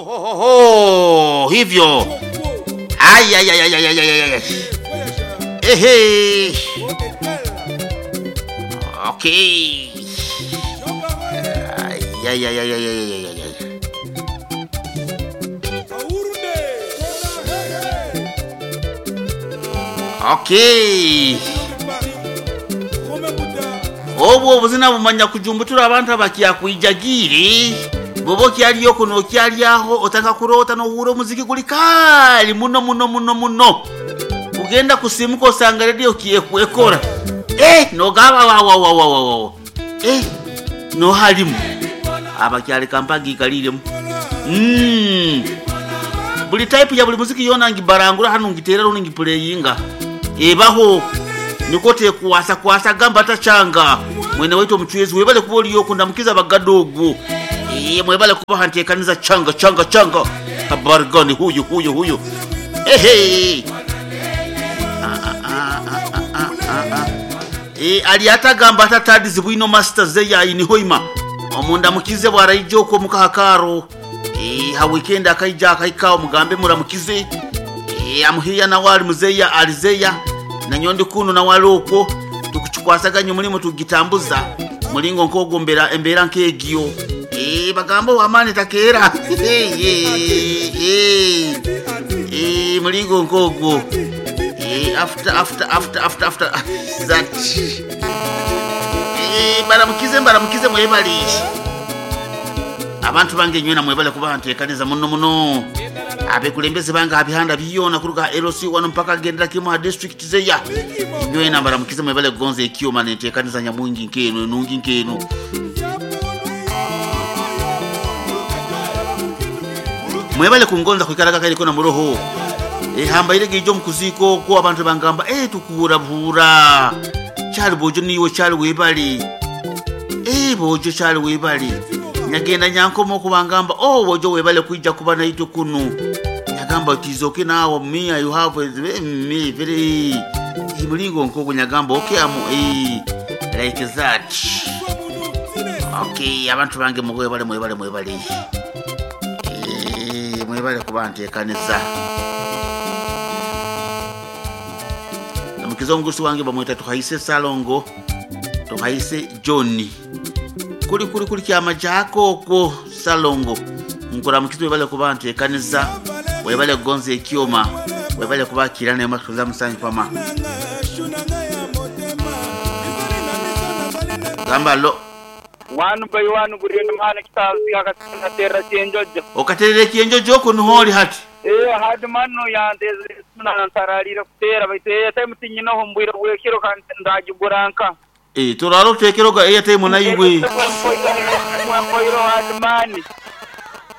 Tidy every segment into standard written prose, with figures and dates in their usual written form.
Ho, ho, ho, hivyo ay, ay, ay, ay, ay, ay, ay, ay. Ehe. Okay. Ay, ay, ay, ay, ay, ay, ay, ay, ay. Okay. Obwo obuzina bumanya kujumbutura abantu abakyakuijagire bobo okyaliyo kuno okyalyaho otaka kuroota nohuura omuziki guli kaali muno muno muno muno ugenda kusimuka osanga radio kyekwekora nogaba wawawawawawa nohalimu abakyali kampagi ikaliremu buli type ya buli muziki yona ngibarangura hano ngitera runo ngiplayinga ebaho niko tekuwasa kwasa gamba tachanga mwene waitu omuchwezi webale kuba oliyo kundamukiza bagadogo mwebale kuba hantekaniza changa changa changa habari gani huyu huyu huyu ehe ali atagamba atatadizi bwino master zeya inihoima omundamukize bwaraija okwo mukahakaro ha weekend akaija akaika omugambe muramukize amuhiya nawe ali muzeya alizeya nanyondi kuno nawe ali okwo tukukikwasaganya omulimu tugitambuza mulingo nkogombera embeera nk'egyo bagamba owamaani takeera mulingo nkogwo after after after after after that baramukize mbaramukize mwebale abantu bange nywena mwebale kuba ntekaniza muno muno abekulembeze bange abihanda byona kuruga LC wano mpaka gendera kimu ha district zeya nywena baramukize mwebale kugonza ekyoma nentekaniza nyamwingi nkeno enungi nkeno mwebale kungonza kwikaraga kaliko na muroho hambaire gijo mukuziko ko abantu bangamba tukura bura cyali bojo niwe cyali webali bojo cyali webali nyagenda nyankomo kubangamba bojo webale kuija kuba naito kunu nyagamba tizoke nawo me you have me very mulingo nkogo nyagamba okay amu like that okay abantu bange mwebale mwebale mwebale mwebale kuba ntekanisa namukiza omugusi wange bamweta tuhaise Salongo tuhaise John kuli kuli kuli kyama kyako okwo Salongo nkuramukiza webale kuba ntekanisa webale kugonza ekyoma webale kubakira naye matuza musanyu pama gamba lo wanu by wanu gurienda mwana kitazi akaterera chenjojo okaterera chenjojo oko nuholi hati hadi mano yandeze nantararira kutera baitu airtime tinyinaho mbwira bwekiro kandi ndagiguranka turaro tekeroga airtime naigwe mpoiro hadi mani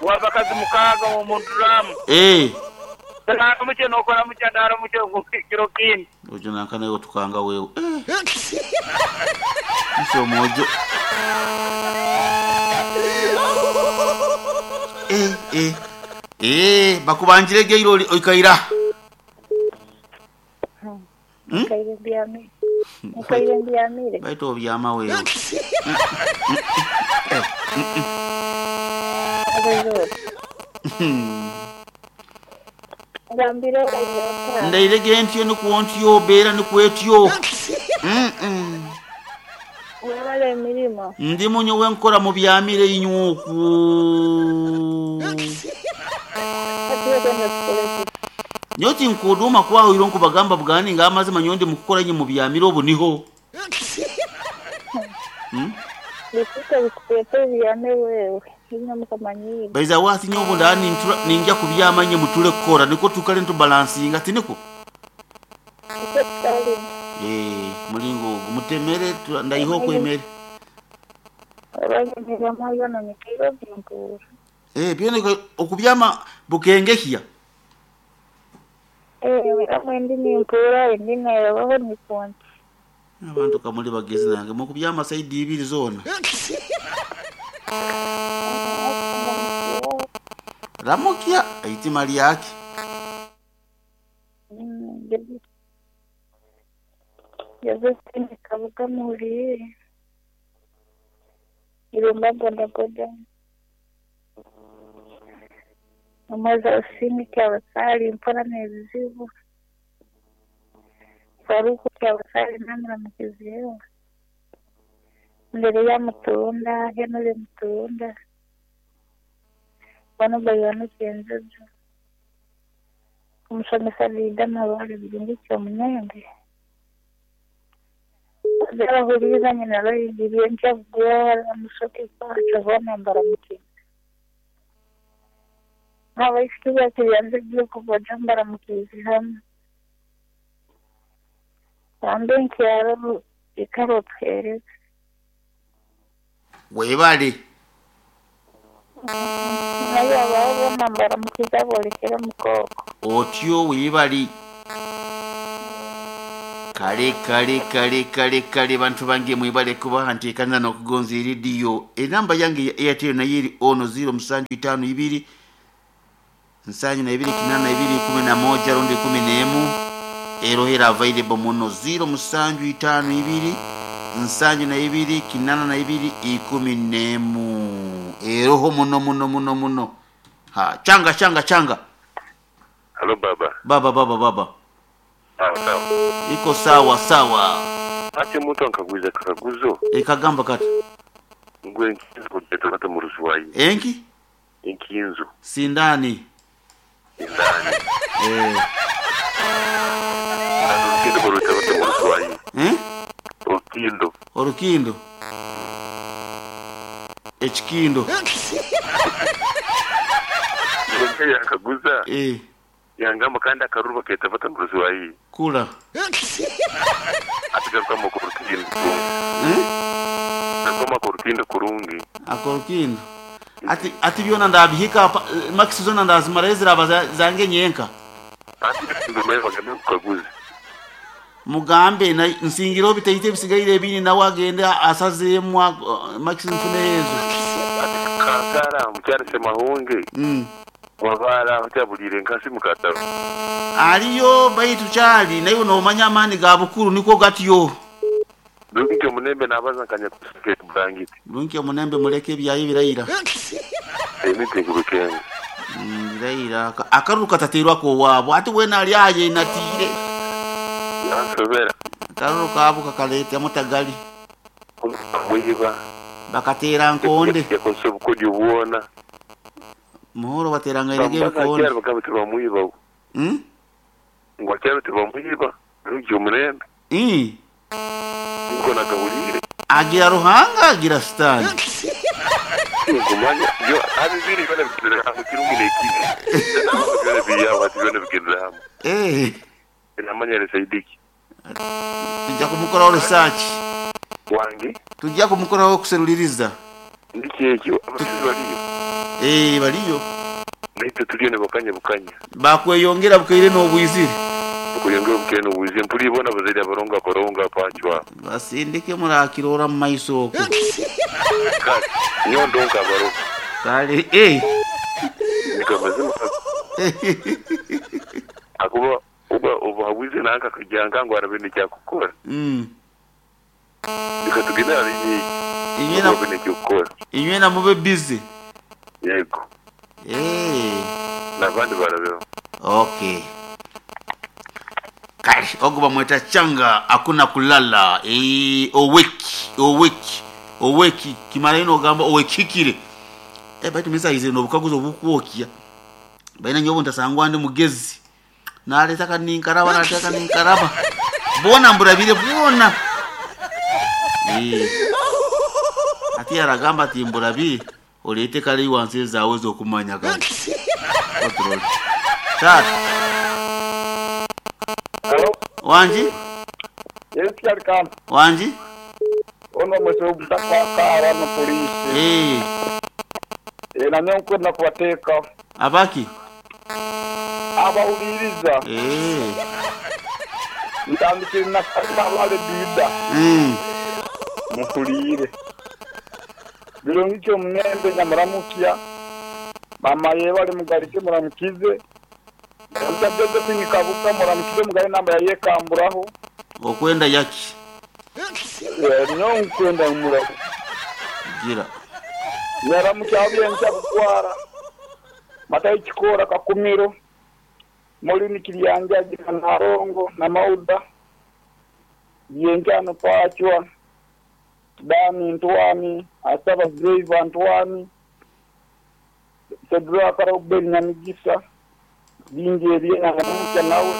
wabakazi mukaga mu munduramu ndaramuke nokora muke ndaramuke kiro kindi ojo nankanayo tukanga wewe iso mojo bakubanjire geiro oikaira Nkaire baito obyama wewe ndairege ntyo nikuwontyo beera nikwetyo webale emirimo ndi munyo wenkora mu byamire inyuku nyoti nkuduma kwaho iro nkubagamba bwani ngamazima nyondi mukukora nye mu byamire obu niho baiza wasi nyobu ndani ninja kubyama nye mutule kukora niko tukale ntubalansinga tiniko mulingo mutemere ndaiho kwemere byone okubyama bukengehya abantu kamuli bagezi nange mukubyama saidi ibiri zona ramukia aitima lyake Josephine Kabuga Muhurire Irumba bodaboda. Omwezi Osini Kyabasali mpora n'ebizibu. Faruku Kyabasali namuramukizeeho. Mbere ya Mutunda, Henry Mutunda. Bano Bayano Kyenjojo. Omusomesa Lida Mabale Birungi Kyomunembe. Abahuriza nyina bayigiriye nkyabugwara musoke kwacu bona mbaramukiza. Abaisiki bakiriyanze kubaja mbaramukiza hamwe. Bambe nkyaro ikarotwereza. Webale. Naye abaho bona mbaramukiza bolekera mukoko. Otyo webale. Kale kale kale kale kale bantu bange mwebale kuba nteekaniza n'okugonza erediyo. Enamba yange ya Airtel nayo eri ono 0752 72 82 11 rundi 11 erohera available muno 0752 72 82 11 eroho muno muno muno muno. Ha, changa changa changa. Halo baba. Baba baba baba. Sawa sawa. Iko sawa sawa. Ate mtu ankaguza kakaguzo. Ekagamba kati. Ngwe nkinzo kujeta kata murusuwayi. Enki? Enkinzo. Sindani. Sindani. Eh. Orukindo kuruta kata murusuwayi. Eh? Orukindo. Orukindo. Echikindo. Ngwe yakaguza. Eh. Yangamba kandi akaruba keta fata murusuwayi. Kula. Atigaruka mu kurukindo. Eh? Nakoma kurukindo kurungi. Akorukindo. Ati ati byona ndabihika max zona ndazimara eziraba zange nyenka. Ati ndumeye bagambe kukaguza. Mugambe na nsingiro bitayite bisigaire ebini nawe agende asazemu max mfune ezo. Ati kankara mukyari semahunge. Wabara mukyabulire nkasi mukataro. Aliyo baitu kyali naye nomanya amani ga bukuru niko gatyo. Lungi omunembe nabaza nkanya kusike bulangiti. Lungi omunembe muleke ebyayi birayira. Emiti kubikenga. Birayira akaruka kataterwa ko wabo ati wena ali aye natire. Yansobera. Akaruka abo kakaleta mutagali. Mwiba. Bakatera nkonde. Yakoze obukodi obuwona. Muhoro bateranga irege bikonde. Bakyali bagamba tebamwiba. Ngo akyali tebamwiba. Lungi omunembe. Niko nakahulire. Agira ruhanga agira sitani. Ngumanya yo abibiri bana bigendera hamwe kirungi n'ekibi. Byona biyawo ati byona bigendera hamwe. Eh. Namanya resaidiki. Tujja kumukoraho research. Wange? Tujja kumukoraho kuseruliriza. Ndiki ekyo abasizi baliyo. Eh baliyo. Naitwe tuliyo ne bakanya bukanya. Bakweyongera bukeire n'obwizire. Kuyongera bukeire n'obwizire mpuli bona bazaire abaronga baronga pachwa. Basindike murakirora mu maiso okwo. Kati nyondo nkabaro. Kale eh. Nikamazima. Akuba uba obuhabuze nanka kujanga ngo arabe n'ekyakukora. Nikatugenda ari inyena n'ekyokukora. Inyena mube busy. Yego. Eh. Nabandi barabeho. Okay. Kale ogo bamweta changa hakuna kulala. Eh oweki oweki oweki kimara ino ogamba owekikire. Eh baitu misa ize no bukaguzo bukwokya. Baina nyobo ntasangwa ndi mugezi. Naleta kaninkaraba naleta kaninkaraba. Bona mburabire bona. Eh. Ati aragamba ati mburabire olete kale iwanse zawe zokumanya kale. Control. Tatu. Hello. Wanji? Yes, Kyalikan. Wanji? Ono mwese obutakakara no polisi. Eh. Eh na nyo na kubateka. Abaki? Abawuliriza. Eh. Ntandikire na kabale bida. Mukulire. Birungi kyo munembe nyamuramukiya. Mama yebale mugarike muramukize. Mutageze kwinikabuka muramukize mugari namba yayekamburaho. Okwenda yaki? Nyo nkwenda muramu. Gira. Nyaramukiya abyencha kukwara. Matayi Kikoora Kakumiro, Molini Kiryanjagi na Nalongo na Mauda, Byenkyano Pachwa, Dani Ntwani, Asaba Driver Ntwani, Sedraka Robert Nyamigisa, bingi ebyena naramukya nawe.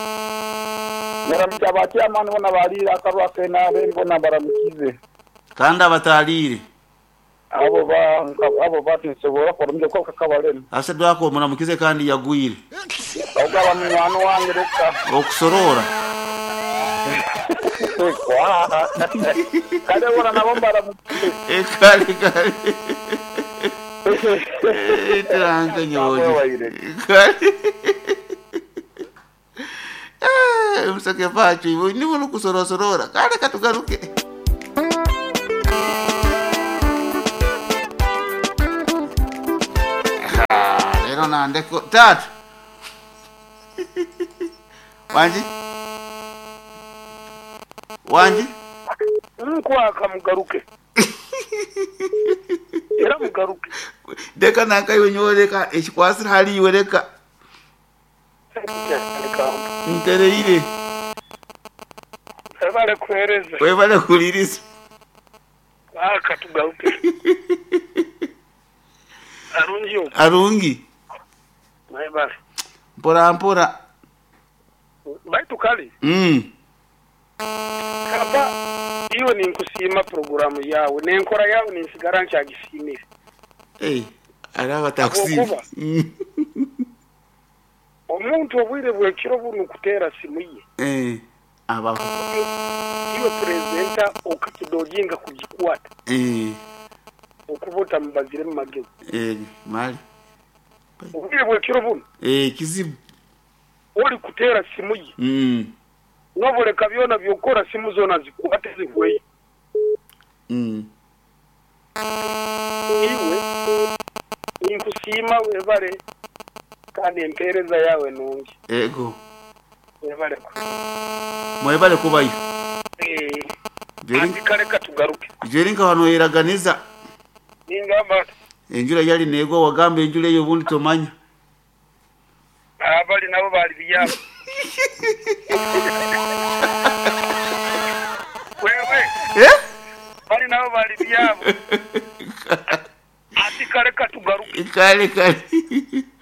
Naramukya abakyamani bona baliire akarwa ak'NRM bona baramukize. Kandi abataliire. Abo ba abo batinsobora kuramukya kuko kakabalema. Ase dwako muramukize kandi yagwire. Ogaba munywani wange reka. Okusorora. Kwa. Kale bona nabo mbaramukize. Kale kale. Turanka nyoje. Kale. Musake pacho iwe nibo nukusorosorora. Kale katugaruke. Ah, Lero nandeko tatu. Wanji? Wanji? Nkwaka mugaruke. Era mugaruke. Deka nanka iwe nyowe reka ekikwasira hali iwe reka ntereire Ebale kuhereza. webale kuliriza Aka tugaruke. Arungi oku. arungi Ebale. mpora mpora Baitu kale kaba iwe ninkusiima programu yawe n'enkora yawe ninsigara nkyagisimire. Hey, araba takusiima Habwokuba omuntu obwire bw'ekiro bunu kuteera simu ye aba iwe purezidenta okakidojinga kugikwata okuba otamubazire mu magezi. Mali Obwire bw'ekiro bunu kizibu oli kuteera simu ye n'oboleka byona byokora simu zoona zikwate zihweyo. Iwe ninkusiima webale kandi empeereza yawe nungi. Ego Webale. Mwebale kubayo. Andi kale katugaruke. Jeri nka wano yeraganiza ningamba enjura yali negwa wagamba enjura eyo obundi tomanya. Abali nabo bali byabo. Wewe bali nabo bali byabo. Ati kale katugaruke. Kale kale.